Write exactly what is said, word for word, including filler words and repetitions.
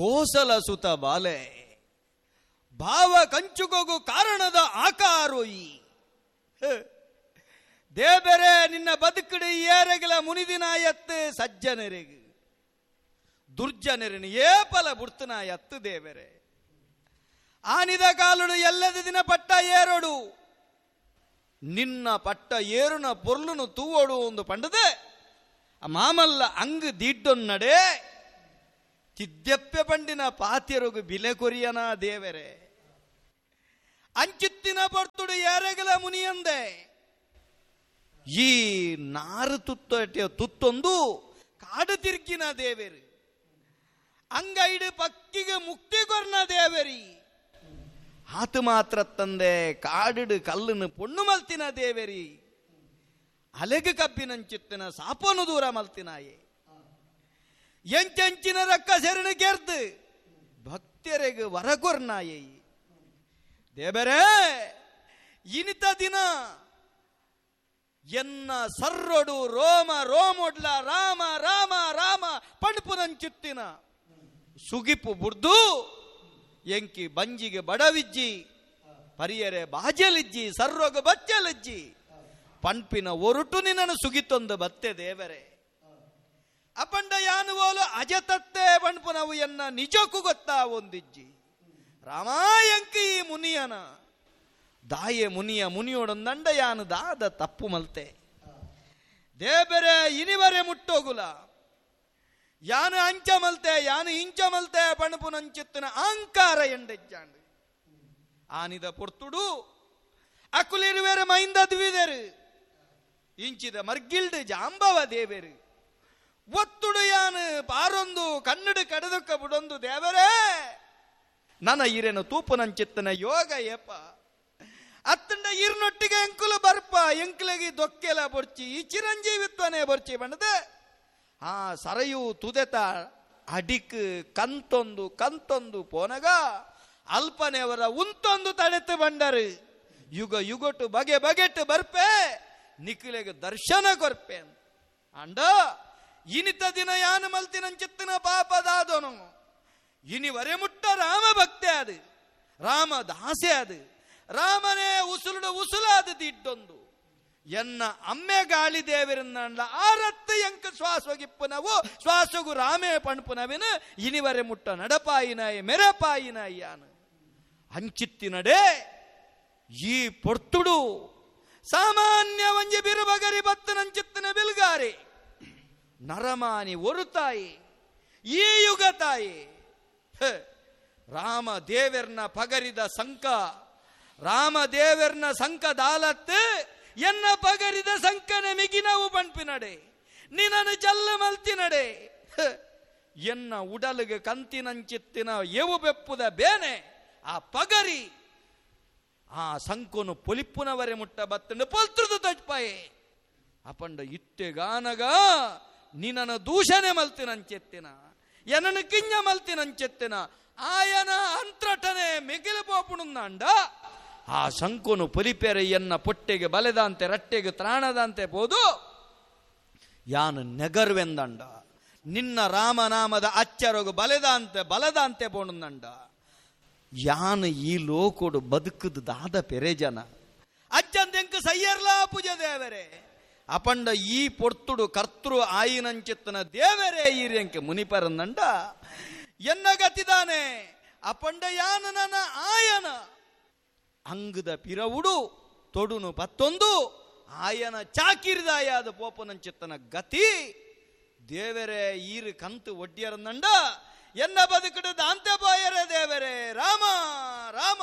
ಕೋಸಲ ಸುತ ಬಾಲೆ ಭಾವ ಕಂಚುಕೊಗು ಕಾರಣದ ಆಕಾರೋಯಿ ದೇಬೆರೆ ನಿನ್ನ ಬದುಕುಡು ಏರೆಗಲ ಮುನಿದಿನಾಯತ್ತು ಸಜ್ಜನರೆಗು ದುರ್ಜನರನು ಏಪಲ ಬುಡ್ತನಾಯತ್ತು ದೇವರೇ ಆನಿದ ಕಾಲುಡು ಎಲ್ಲದ ದಿನ ಪಟ್ಟ ಏರೋಡು ನಿನ್ನ ಪಟ್ಟ ಏರುನ ಪೊರ್ಲುನು ತೂವೋಡು ಒಂದು ಪಂಡದೆ ಮಾಮಲ್ಲ ಅಂಗು ದೀಡ್ಡೊನ್ನಡೆ ತಿದ್ದೆಪ್ಪೆ ಪಂಡಿನ ಪಾತ್ಯರುಗು ಬಿಲೆ ಕೊರಿಯನ ದೇವರೇ ಅಂಚಿತ್ತಿನ ಪೊರ್ತುಡು ಏರೆಗಲ ಮುನಿಯಂದೆ ಈ ನಾರು ತುತ್ತ ತುತ್ತೊಂದು ಕಾಡು ತಿರ್ಗಿನ ದೇವೇರು ಅಂಗೈಡು ಪಕ್ಕಿಗೆ ಮುಕ್ತಿ ಕೊರ್ನ ದೇವರಿ ಆತು ಮಾತ್ರ ತಂದೆ ಕಾಡಿಡು ಕಲ್ಲನ್ನು ಪೊಣ್ಣು ಮಲ್ತಿನ ದೇವರಿ ಅಲೆಗು ಕಬ್ಬಿನಂಚಿತ್ತಿನ ಸಾಪನು ದೂರ ಮಲ್ತಿನಾಯೆ ಎಂಚೆಂಚಿನ ರಕ್ಕ ಸೆರಣ ಕೆರ್ದು ಭಕ್ತರಿಗೆ ವರಕೊರ್ನಾಯೆ ದೇವರೇ ಇನಿತ ದಿನ ಎನ್ನ ಸರ್ರೊಡು ರೋಮ ರೋಮೊಡ್ಲ ರಾಮ ರಾಮ ರಾಮ ಪಣಪುನಂಚುತ್ತಿನ ಸುಗಿಪು ಬುರ್ದು ಎಂಕಿ ಬಂಜಿಗೆ ಬಡವಿಜ್ಜಿ ಪರಿಯರೆ ಬಾಜಲಿಜ್ಜಿ ಸರ್ರೋಗ ಬಚ್ಚಲಿಜ್ಜಿ ಪಣ್ಪಿನ ಒರುಟು ನಿನ್ನನ್ನು ಸುಗಿತೊಂದು ಬತ್ತೆ ದೇವರೇ ಅಪಂಡ ಯಾನುವೋಲು ಅಜತತ್ತೆ ಪಣ್ಪುನವು ಎನ್ನ ನಿಜಕ್ಕೂ ಗೊತ್ತಾ ಒಂದಿಜ್ಜಿ ರಾಮಾಯಂಕಿ ಮುನಿಯನ ದಾಯೆ ಮುನಿಯ ಮುನಿಯೋಡೊಂದಂಡ ಯಾನು ದಾದ ತಪ್ಪು ಮಲ್ತೆ ದೇಬೆರೆ ಇನಿವರೆ ಮುಟ್ಟೋಗುಲ ಯಾನು ಅಂಚ ಮಲ್ತೆ ಯಾನು ಇಂಚ ಮಲ್ತೆ ಪಣಪುನಂಚಿತ್ತಿನ ಅಹಂಕಾರ ಎಂಡೆಜ್ಜಾಂಡು ಆನಿದ ಪೊರ್ತುಡು ಅಕುಲಿರುವೆರು ಮೈಂದ ದ್ವಿದೆರು ಇಂಚಿದ ಮರ್ಗಿಲ್ಡು ಜಾಂಬವ ದೇವೆರು ಒತ್ತುಡು ಯಾನು ಪಾರೊಂದು ಕನ್ನಡು ಕಡದಕ್ಕ ಬುಡೊಂದು ದೇವರೇ ನನ್ನ ಇರೇನು ತೂಪುನಂಚಿತ್ತನ ಯೋಗ ಏಪ ಅತ್ತಂಡ ಇರ್ನೊಟ್ಟಿಗೆ ಎಂಕುಲು ಬರ್ಪ ಎಂಕುಲಗಿ ದೊಕ್ಕೆಲ ಬೊರ್ಚಿ ಈ ಚಿರಂಜೀವಿತ್ವನೇ ಬೊರ್ಚಿ ಬಣ್ಣದೆ ಆ ಸರಯು ತುದೆತ ಅಡಿಕ್ ಕಂತೊಂದು ಕಂತೊಂದು ಪೋನಗ ಅಲ್ಪನೆಯವರ ಉಂತೊಂದು ತಡೆತು ಬಂಡರು ಯುಗ ಯುಗೊಟ್ಟು ಬಗೆ ಬಗೆಟ್ಟು ಬರ್ಪೆ ನಿಖಿಲೆಗೆ ದರ್ಶನ ಕೊರ್ಪೆ ಅಂಡ ಇನಿತ ದಿನ ಯಾನು ಮಲ್ತಿನಂಚಿತ್ತಿನ ಪಾಪದಾದನು ಇನಿವರೆ ಮುಟ್ಟ ರಾಮ ಭಕ್ತೆ ಅದು ರಾಮ ದಾಸೆ ಅದು ರಾಮನೇ ಉಸುಲುಡು ಉಸುಲಾದ ದಿಡ್ಡೊಂದು ಎನ್ನ ಅಮ್ಮೆ ಗಾಳಿ ದೇವರನ್ನ ಆರತ್ತು ಎಂಕ ಶ್ವಾಸಗಿಪ್ಪನವು ಶ್ವಾಸಗು ರಾಮೇ ಪಣ್ಪುನವಿನ ಇನಿವರೆ ಮುಟ್ಟ ನಡಪಾಯಿನಾಯಿ ಮೆರಪಾಯಿನಾಯ್ಯಾನು ಅಂಚಿತ್ತಿನಡೆ ಈ ಪೊರ್ತುಡು ಸಾಮಾನ್ಯ ಒಂಜಿ ಬಿರುಬಗರಿ ಬತ್ತನಂಚಿತ್ತಿನ ಬಿಲ್ಗಾರಿ ನರಮಾನಿ ಒರು ತಾಯಿ ಈ ಯುಗ ತಾಯಿ ರಾಮ ದೇವರ್ನ ಪಗರಿದ ಸಂಕ ರಾಮ ದೇವರ್ನ ಸಂಕ ದಾಲತ್ತು ಎನ್ನ ಪಗರಿದ ಸಂಕನೆ ಮಿಗಿನವು ಪಣ್ಪಿನಡೆ ನಿನನು ಜಲ್ಲ ಮಲ್ತಿನಡೆ ಎನ್ನ ಉಡಲಿಗೆ ಕಂತಿನಂಚಿತ್ತಿನ ಎವು ಬೆಪ್ಪುದ ಬೇನೆ ಆ ಪಗರಿ ಆ ಸಂಕುನು ಪೊಲಿಪ್ಪುನವರೆ ಮುಟ್ಟ ಬತ್ತಂಡು ಪೊಲ್ತೃದು ತಜ್ಪಾಯೆ ಅಪಂಡ ಇತ್ತೆಗಾನಗ ನಿನನ ದೂಷಣೆ ಮಲ್ತಿನಂಚೆತ್ತಿನ ಎನ್ನನು ಕಿಂಜ ಮಲ್ತಿನಂಚೆತ್ತಿನ ಆಯನ ಅಂತ್ರಟನೆ ಮಿಗಿಲು ಪೋಪುಣಂದ ಆ ಶಂಕುನು ಪೊಲಿಪೆರೆ ಎನ್ನ ಪೊಟ್ಟೆಗೆ ಬಲೆದಂತೆ ರಟ್ಟೆಗೆ ತ್ರಾಣದಂತೆ ಪೋದು ಯಾನು ನೆಗರ್ವೆಂದಂಡ ನಿನ್ನ ರಾಮನಾಮದ ಅಚ್ಚರಗು ಬಲೆದಂತೆ ಬಲದಂತೆ ಪೋಣಂದಂಡ ಯಾನು ಈ ಲೋಕೋಡು ಬದುಕುದು ದಾದ ಪೆರೆಜನ ಅಜ್ಜಂದೆಂಕು ಸಯ್ಯರ್ಲಾ ಪೂಜೆ ದೇವರೇ ಅಪಂಡ ಈ ಪೊರ್ತುಡು ಕರ್ತೃ ಆಯಿನಂಚಿತ್ತನ ದೇವರೇ ಈರ್ಯಂಕೆ ಮುನಿಪರಂದಂಡ ಎನ್ನ ಗತಿದಾನೆ ಅಪಂಡ ಯಾನು ನನ್ನ ಆಯನ ಅಂಗದ ಪಿರವುಡು ತೊಡುನು ಪತ್ತೊಂದು ಆಯನ ಚಾಕಿರಿದಾಯಾದ ಪೋಪನಂಚಿತ್ತನ ಗತಿ ದೇವರೇ ಈರು ಕಂತು ಒಡ್ಡಿಯರಂದಂಡ ಎನ್ನ ಬದುಕುಡು ದಾಂತೆ ಬಾಯರೇ ದೇವರೇ ರಾಮ ರಾಮ.